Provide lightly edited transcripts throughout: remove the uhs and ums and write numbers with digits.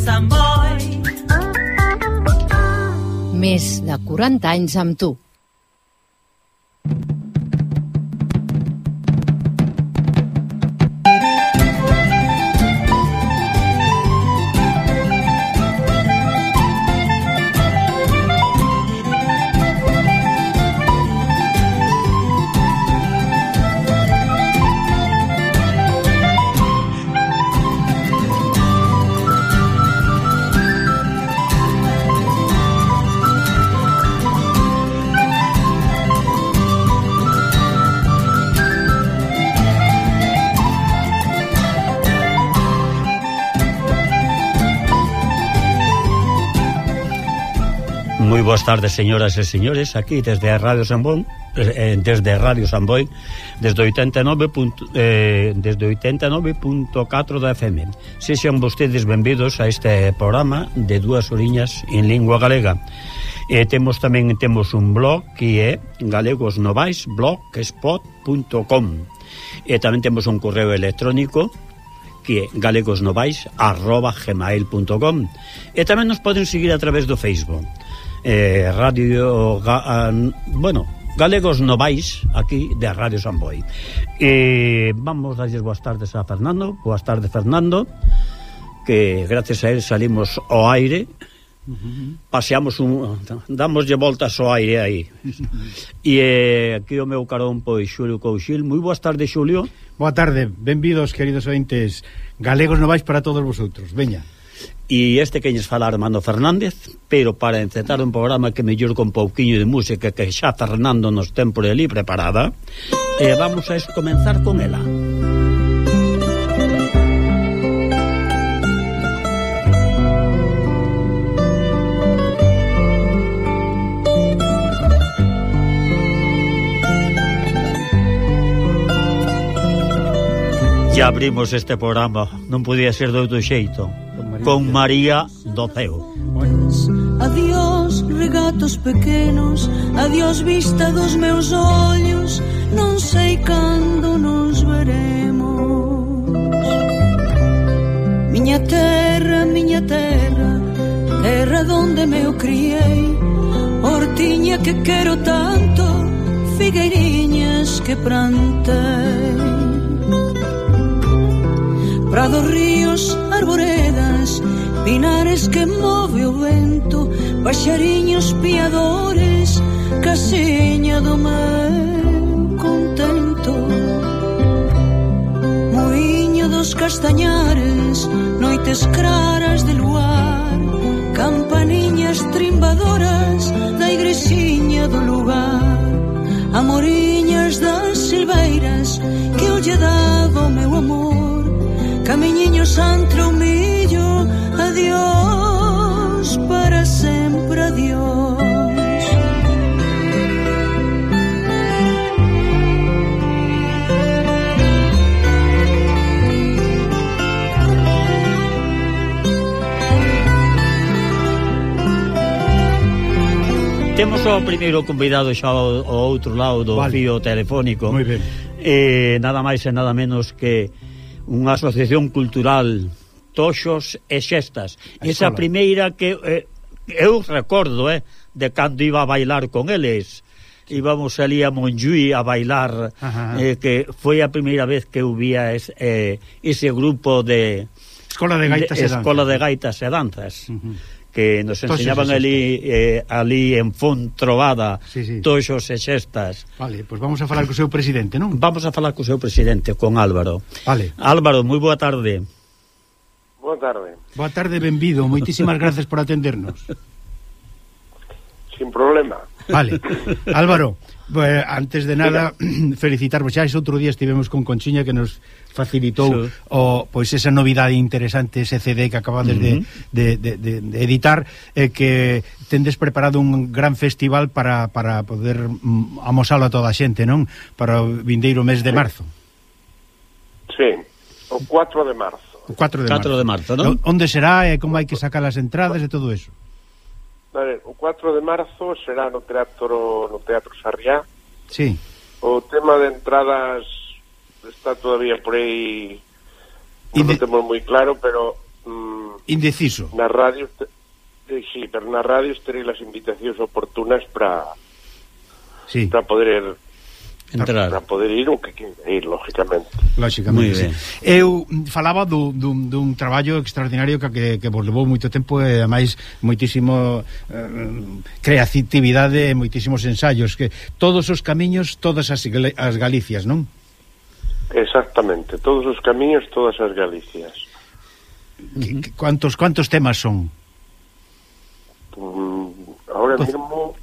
Sant Boi. Més de 40 anys amb tu. Moi boas tardes, señoras e señores, aquí desde a Radio San Boi, desde Radio San Boi, desde 89.4 da FM. Sexan vostedes benvidos a este programa de Dúas Oriñas en lingua galega. Temos un blog que é galegosnovais.blogspot.com. Tamén temos un correo electrónico que é galegosnovais@gmail.com. Tamén nos poden seguir a través do Facebook. Galegos Novais, aquí de Radio San Boi. Vamos a darles boas tardes a Fernando. Boas tardes, Fernando, que gracias a él salimos ao aire. Paseamos damoslle voltas ao aire aí. Aquí o meu carón, pois, Xulio Couchil. Moi boas tardes, Xulio. Boa tarde, benvidos, queridos ointes. Galegos Novais para todos vosotros, veña. E que lles fala Armando Fernández, pero para encetar un programa que mellor con pouquiño de música que xa Fernando nos ten por ali preparada, vamos a comenzar con ela. Ya abrimos este programa, non podía ser de outro xeito, con María do Ceo. Adiós, regatos pequenos, adiós, vista dos meus ollos, non sei cando nos veremos. Miña terra, terra donde me o criei, hortiña que quero tanto, figueiriñas que plantei. Prados, ríos, arboredas, pinares que move o vento, paxariños piadores, casiña do meu contento. Muiño dos castañares, noites claras de luar, campaniñas trimbadoras da igrexiña do lugar, amoriñas das silveiras que eu lle daba o meu amor. Camiñiños entre o millo, adiós, para sempre adiós. Temos o primeiro convidado xa ao outro lado do fío telefónico. Moi ben. Nada máis e nada menos que unha asociación cultural, Toxos e Xestas. Esa primeira que eu recordo de cando iba a bailar con eles. Íbamos ali a Montjuí a bailar, que foi a primeira vez que eu vía ese grupo de Escola de Gaitas e Danzas. Que nos enseñaban ali en Fontrovada, Toxos e Xestas. Vale, pois vamos a falar co seu presidente, non? Vamos a falar co seu presidente, con Álvaro. Vale. Álvaro, moi boa tarde. Boa tarde. Boa tarde, benvido. Moitísimas gracias por atendernos. Sin problema. Vale. Álvaro, antes de nada, felicitarvos. Xa ese outro día estivemos con Conchiña que nos facilitou pois esa novidade interesante, ese CD que acabades de editar, que tendes preparado un gran festival para poder amosalo a toda a xente, non? Para o vindeiro mes de marzo. Sí, o 4 de marzo. O 4 de marzo, non? Onde será e como hai que sacar as entradas e todo eso? Vale, o 4 de marzo será no Teatro Sarriá. Sí. O tema de entradas está todavía por aí, non temos moi claro, pero indeciso. Na radio, sí, pero na radio terei as invitacións oportunas para poder entrar, para poder ir o que queira ir, lógicamente. Lógicamente, sí. Eu falaba dun traballo extraordinario que vos levou moito tempo e ademais moitísimo creatividade e moitísimos ensaios, que todos os camiños, todas as Galicias, non? Exactamente, todos os camiños, todas as Galicias. Cuántos temas son? Ahora mismo...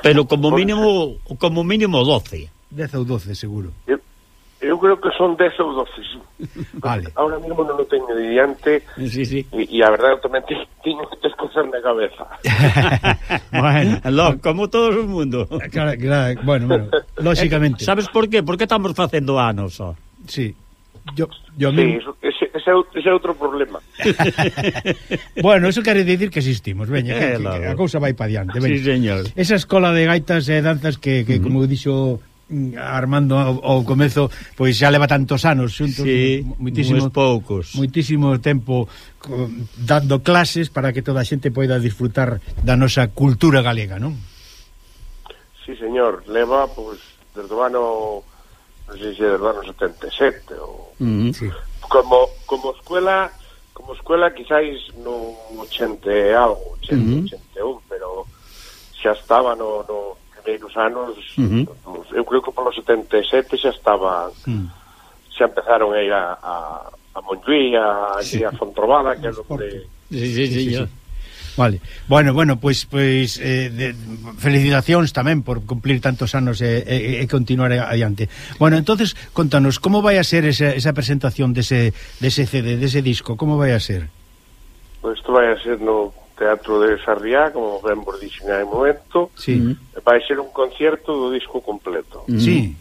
Pero como mínimo 12. 10 ou 12, seguro. Eu creo que son 10 ou 12, sí. Vale. Ahora mismo non o teño diante. Sí. E a verdade, eu tamén teño que descosar na cabeza. Bueno, como todo o mundo. Claro, bueno, lógicamente. Sabes por qué? Porque estamos facendo anos, ó. Sí. Yo sí, ese é outro problema. Bueno, eso quere dicir que existimos, veña, que a cousa vai pa diante. Sí, señor. Esa escola de gaitas e danzas que como dixo Armando ao comezo, pois xa leva tantos anos xuntos, moitísimo tempo dando clases para que toda a xente poida disfrutar da nosa cultura galega, non? Sí, señor, leva, pois, desde o ano, non sei se desde o ano 77 ou... Sí. Como escuela quizáis no 80 e algo, 81, pero xa estaba no primeiros anos, eu creo que polo 77 xa estaba, xa empezaron a ir a Montjuí, a Fontrobada, que é onde... Sí. Vale. Bueno, pois felicitacións tamén por cumplir tantos anos e continuar adiante. Bueno, entonces, contanos, como vai a ser esa presentación dese CD, dese disco, como vai a ser? Pois isto vai a ser no Teatro de Sarriá, como ben vos dixen hai momento. Sí. Vai ser un concierto do disco completo. Sí.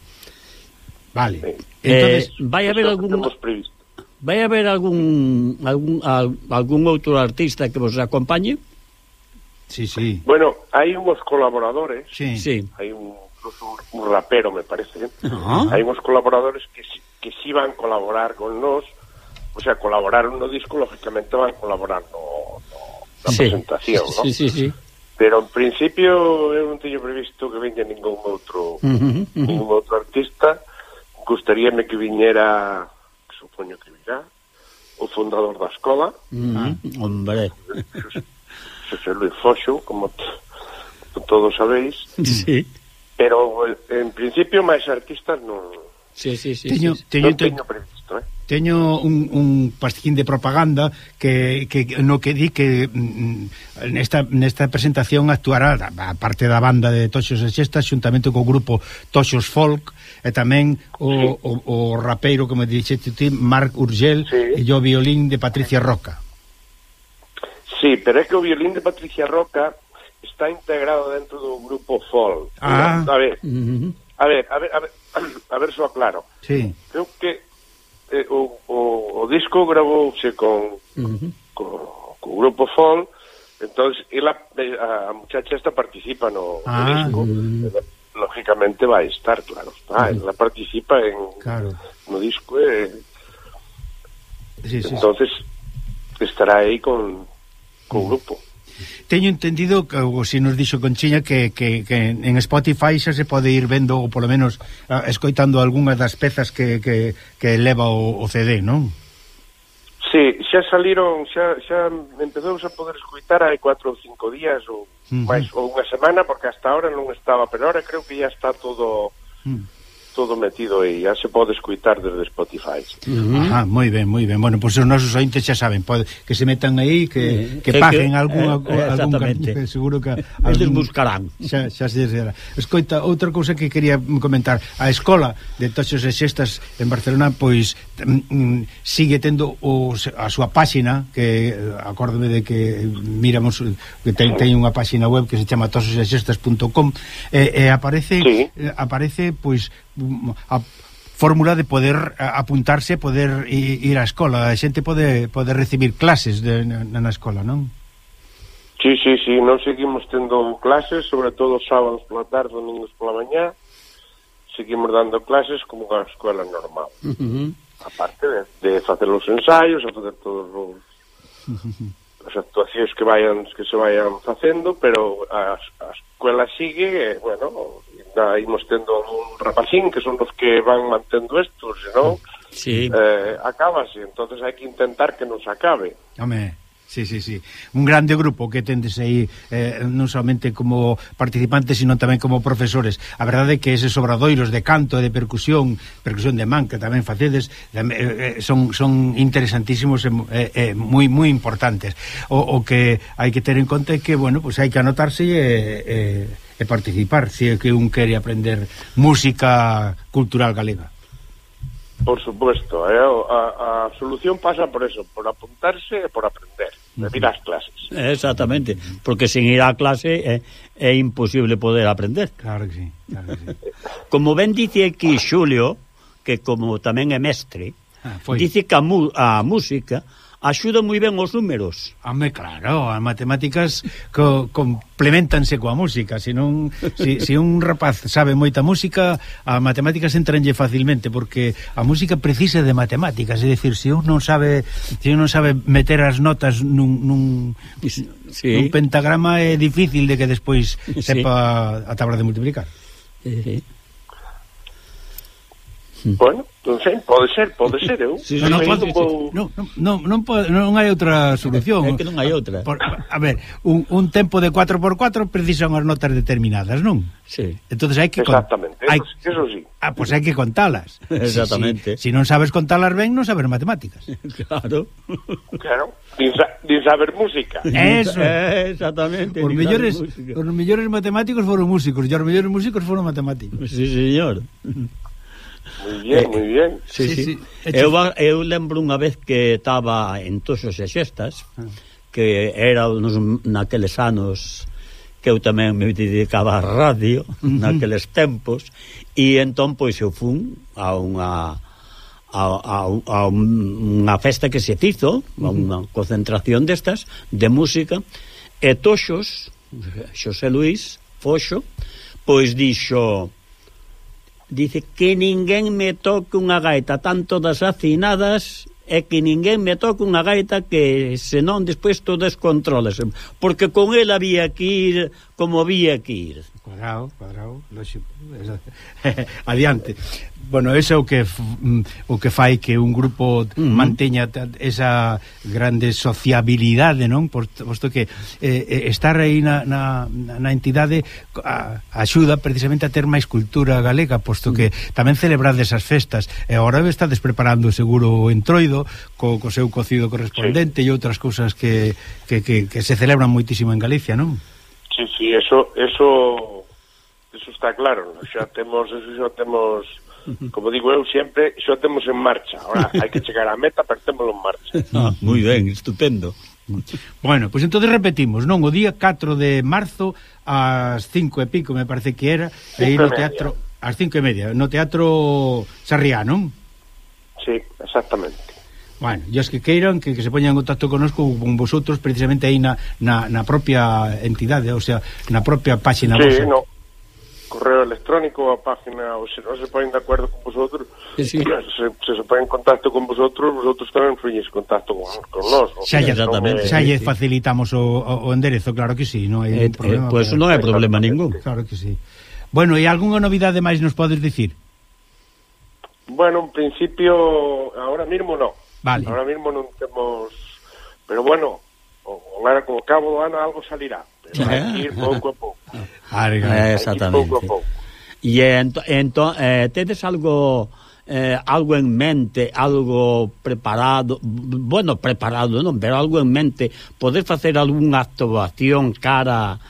Vale. Sí. Entonces, vai haber algún outro artista que vos acompañe? Sí. Bueno, hai uns colaboradores. Sí. Hai un rapero, me parece. Hai uns colaboradores que si van colaborar con nós. O sea, colaboraron no disco, lógicamente van colaborar na presentación, ¿no? Sí. Pero en principio eu non teño previsto que venga ningún outro artista. Gustaríame que viñera, supoño que virá, o fundador da escola, hombre, Xosé Luis Foxo, como todos sabéis. Sí. Pero en principio máis artistas non. Sí. Non teño previsto, Teño un pastiquín de propaganda que no que di que nesta presentación actuará a parte da banda de Toxos e Xestas xuntamente co grupo Toxos Folk e tamén o rapeiro, como dixete ti, Marc Urgel, e o violín de Patricia Roca. Sí, pero é que o violín de Patricia Roca está integrado dentro do grupo Folk. A ver, só claro. Sí. Creo que o disco gravouse con grupo Folk, entonces a muchacha esta participa no disco, lógicamente vai estar, claro está, ela participa no disco entonces estará aí con o grupo. Teño entendido que, ou se nos dixo Conchiña, que en Spotify xa se pode ir vendo, ou polo menos escoitando algunhas das pezas que leva o CD, non? Sí, xa saliron, xa empezamos a poder escoitar hai 4 ou 5 días ou máis, ou unha semana, porque hasta ahora non estaba, pero ahora creo que ya está todo metido aí, ya se pode escoitar desde Spotify. Moi ben. Bueno, pois os nosos ointes xa saben, que se metan aí, que paguen algún cariño, seguro que eles buscarán. Xa se será. Escoita, outra cousa que quería comentar, a escola de Toxos e Xestas en Barcelona, pois sigue tendo a súa páxina, que acórdome de que miramos que ten unha páxina web que se chama tososexestas.com e aparece pois a fórmula de poder apuntarse, poder ir á escola, a xente pode recibir clases na escola, non? Sí, non seguimos tendo clases, sobre todo sábados pola tarde, domingos pola mañá, seguimos dando clases como a escola normal. Aparte de facer os ensaios, a facer todos as actuacións que se vayan facendo, pero a escuela sigue, bueno, imos tendo un rapacín que son os que van mantendo estos, senón acábase, entonces hai que intentar que non se acabe. Home, sí. Un grande grupo que tendes aí, non somente como participantes, sino tamén como profesores. A verdade é que eses obradoiros de canto e de percusión de man, que tamén facedes, son interesantísimos e moi importantes. O que hai que ter en conta é que, bueno, pues hai que anotarse e participar, se é que un quere aprender música cultural galega. Por supuesto, a solución pasa por eso, por apuntarse e por aprender, de ir ás clases. Exactamente, porque sin ir á clase é imposible poder aprender. Claro que sí. Como ben dice aquí Xulio, que como tamén é mestre, dice que a música axuda moi ben os números. Home, claro, as matemáticas complementanse coa música. Se un rapaz sabe moita música, as matemáticas entranlle facilmente, porque a música precisa de matemáticas. É dicir, se un non sabe meter as notas nun pentagrama, é difícil de que despois sepa a tabla de multiplicar. Bueno, non sei, pode ser, eu. Non hai outra solución. É que non hai outra. A ver, un tempo de 4x4 precisa unhas notas determinadas, non? Sí. Entonces hai que exactamente, eso sí. Pois hai que contalas. Exactamente. Si non sabes contalas ben, non sabes matemáticas. Claro. Din saber música. Eso. Exactamente. Os mellores matemáticos foron músicos, e os mellores músicos foron matemáticos. Sí, señor. Muy bien. Sí. Eu lembro unha vez que estaba en Toxos e Xestas, que era naqueles anos que eu tamén me dedicaba a radio, naqueles tempos, e entón pois eu fun a unha festa que se fizo, a unha concentración destas de música, e Toxos, Xosé Luís Foxo, pois dice que ninguén me toque unha gaita, tanto das afinadas, e que ninguén me toque unha gaita que senón despois todo descontrólase, porque con el había que ir como había que ir. Cuadrado, lógico. Adiante. Bueno, eso é o que fai que un grupo manteña esa grande sociabilidade, non? Posto que estar aí na entidade axuda precisamente a ter máis cultura galega, posto que tamén celebrades esas festas, e agora estades preparando seguro o entroido co seu cocido correspondente e outras cousas que se celebran moitísimo en Galicia, non? Sí, eso está claro, xa temos como digo eu sempre, xa temos en marcha. Ahora hai que chegar á meta, pero témolo en marcha. Moi ben, estupendo. Bueno, pois entonces repetimos, non? O día 4 de marzo ás 5 e pico, me parece que era, aí no teatro, ás 5:30, no Teatro Sarriá, non? Sí, exactamente. Bueno, e os que queiran que se poñan en contacto connosco, con vosotros, precisamente aí na propia entidade, o sea, na propia páxina vosa. Sí, correo electrónico, a página, ou se non se ponen de acordo con vosotros, se ponen en contacto con vosotros tamén freñes contacto con nós. Xa lle facilitamos o enderezo, claro que sí, non hai problema. Pois non hai problema ningún. Claro que sí. Bueno, e algunha novidade máis nos podes dicir? Bueno, en principio, ahora mismo no. Vale. Ahora mismo non temos, pero bueno, con o cabo do ano algo salirá. Pero hai que ir pouco a pouco. Exactamente. E entón, tedes algo en mente, algo preparado, bueno, preparado non, pero algo en mente, poder facer algunha actuación cara,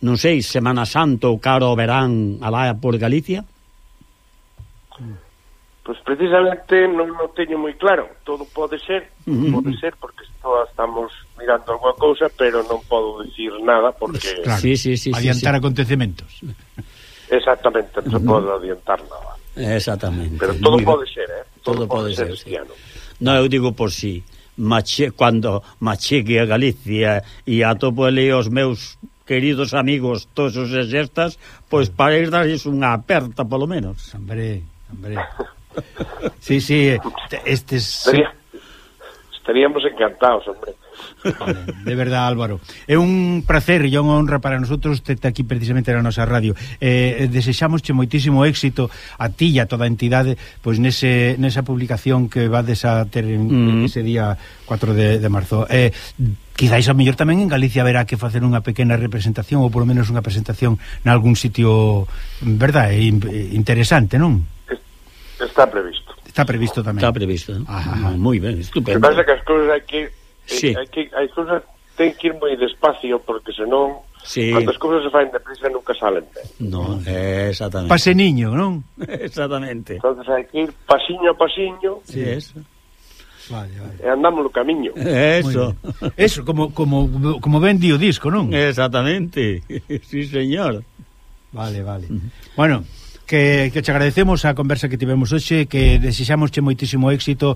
non sei, Semana Santa ou cara ao verán alá por Galicia? Pois precisamente non o teño moi claro. Todo pode ser porque estamos mirando alguna cousa, pero non podo dicir nada porque claro, adiantar acontecementos. Exactamente, non se pode adiantar nada. Exactamente. Pero todo pode ser, Todo pode ser este ano. Non, eu digo por si cando machegue a Galicia e atopo ali os meus queridos amigos Toxos e Xestas, pois para ir darles unha aperta polo menos. Hombre. Sí, estes... Estaríamos encantados, hombre. De verdad, Álvaro, é un placer e unha honra para nosotros terte aquí precisamente na nosa radio. Desexámosche moitísimo éxito a ti e a toda a entidade pois nesa publicación que vades a ter ese día 4 de marzo. Quizáis a mellor tamén en Galicia haberá que facer unha pequena representación ou polo menos unha presentación nalgún sitio, verdad, interesante, non? Está previsto. Está previsto tamén. Está previsto, ¿no? Moi ben, estupendo. O que pasa que as cousas hai que sí. hai cousas ten que ir moi despacio porque senón sí. Cando as cousas se faen deprisa nunca salen ben. No, exactamente. Paseniño, non? Exactamente. Entonces hai que ir pasiño a pasiño. Sí, eso. Vale. E andamos no camiño. Eso. Eso, como ben di o disco, non? Exactamente. Sí, señor. Vale. Bueno, que te agradecemos a conversa que tivemos hoxe, que desexámosche moitísimo éxito,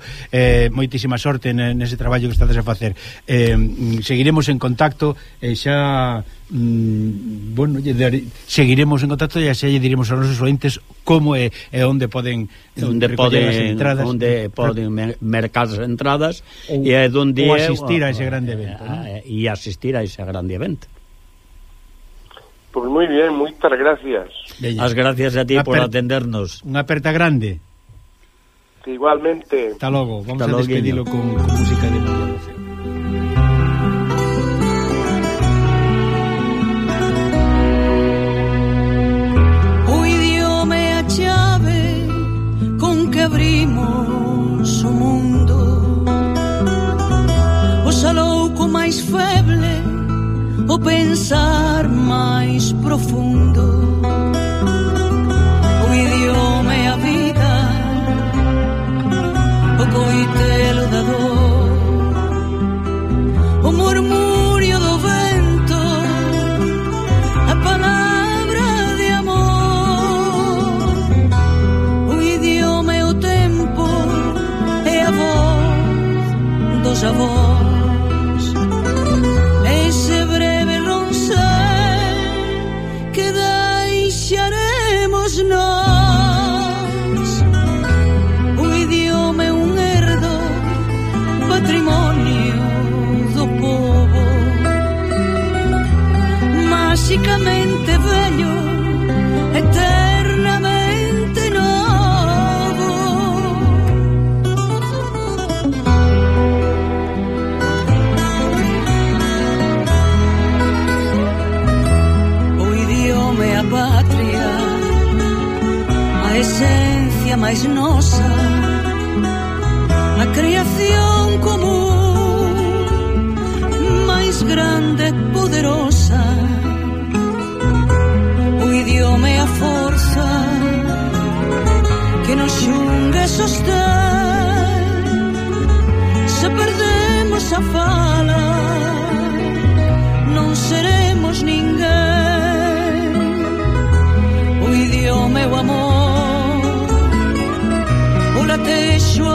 moitísima sorte nese traballo que estades a facer. Seguiremos en contacto e xa seguiremos en contacto e xa lle diremos aos nosos ointes como e onde poden recoller as entradas, onde poden mercar as entradas e onde ou asistir a ese grande evento, e asistir a ese grande evento. Pues moi bien, moitas gracias. Veña. As gracias a ti por atendernos. Unha aperta grande. Que igualmente. Hasta logo. Vamos a despedilo con música de María José. O idioma é a chave con que abrimos o mundo. O salouco máis feble, o pensar máis profundo. O idioma é a vida, o coitelo da dor, o murmurio do vento, a palabra de amor. O idioma é o tempo, é a voz dos avós. Nós. O idioma é un herdo, patrimonio do povo, máxicamente vello, eternamente novo. O idioma é a pátria, a esencia máis nosa, a creación común máis grande e poderosa. O idioma é a forza que nos xunga e sostén. Se perdemos a fala, non seremos ninguén. O idioma é o amor, o latexo